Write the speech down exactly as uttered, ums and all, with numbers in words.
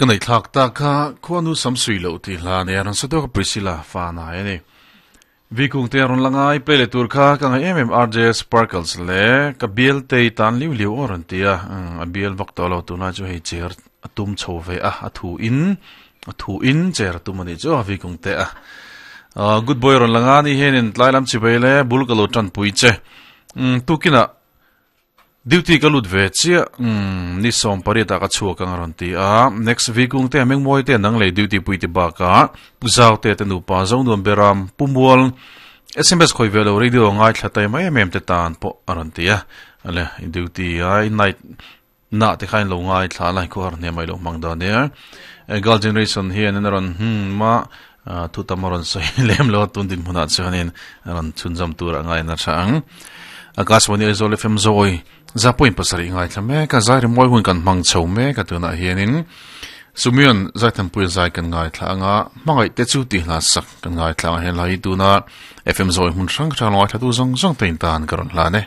Ka nei thlak ta kha khuanu samsui lo ti hla ne ran sa to ka Priscilla fa na ani vikung te ron langai play le tur kha ka ngai em em R J Sparkles le ka bial te tan liu liu oran tia a bial vak to lo tu na chu hei cher atum chho ve a a thu in a thu in cher tum ani chu vikung te a good boy ron langa ni henin tlailam chi beile bul ka lo tan pui che tukina duty ka lut ve chia ni som pari ta ka chua ka ron ti a next week ung te meng moi te nang le duty pui ti ba ka puzaw te te nu pa zong nuam beram pumwal S M S khoi velo radio ngai thla tai mai mem te tan po aron ti a ale duty ai night na te khain lo ngai thla lai ko har ne mai lo mang da ne girl generation hian an ron hm ma thu tamaron sei lem lo tun din huna chuanin ron chunjam tur angai na thang Akashvani Aizawl F M Zoi za point pasari ngai thlame ka zai ri moi hun kan mang chho me ka tuna hianin sumion zai tham pui zai kan ngai thla anga mangai te chu ti hla sak kan ngai thla hen lai tuna F M Zoi hun hrang hrang loi thla tu zong zong tein tan karon hla ne.